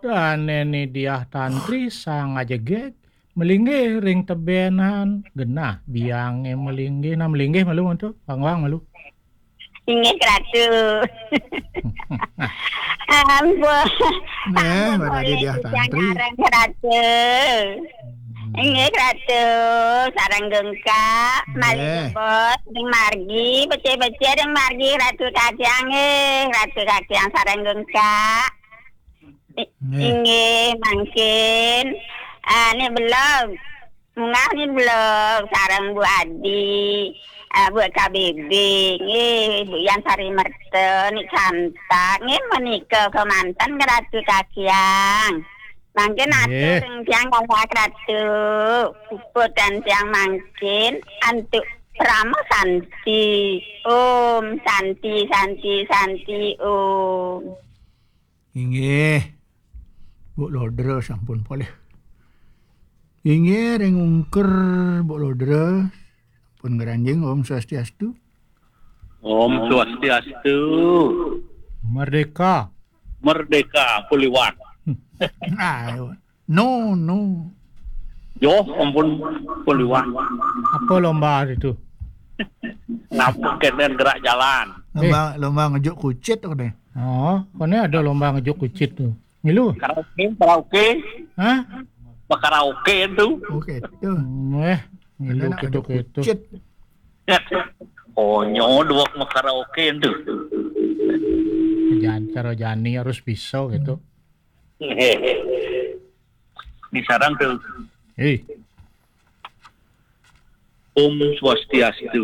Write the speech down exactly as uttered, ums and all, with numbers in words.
Dane ni Diah Tantri sang ajegeg, melinggih ring tebenan, genah biange melinggih, nah melinggih malu mantu, pangwang malu. Inggih, Ratu. Ampun. Neh, ampun, Ratu Diah Tantri. Sareng Ratu. Hmm. Inggih, Ratu, sareng Gengkak, malih jebos ring margi, becik-becik ring margi, Ratu Kacang, nggih, Ratu Kacang sareng Gengkak. I-, nggih, mangkin, ah, ni belog. Munggah ni belog sareng Bu Adi, ah, Bu K B B, nggih, Bu Yan Sari Merta, ni cantak, nggih, menika kemanten Ratu Kacang. Mangkin atur ring tiang kalih Ratu, puput dan tiang mangkin antuk Parama Santi. Om Santi, Santi, Santi, Om. Inggih. Bu Lodra sampun polih. Inggih, ring ungkur Bu Lodra sampun ngranjing. Om Swastiastu. Om Swastiastu. Merdeka. Merdeka, Puliwan. Ah, no, no. Yo, ampun, Puliwan. Apa lomba itu? Napa kenen gerak jalan? Lomba, eh, lomba ngejuk kucit apa deh? Oh, kone ada lomba ngejuk kucit tuh. Milu? Karaoke, karaoke. Hah? Karaoke itu. Oke, tuh. Hmm, eh, milu ada nak ngejuk kucit. Konyo dua karaoke itu. Jan-, cara jani harus bisa gitu. Di sarang tuh. Eh. Om Swastiastu.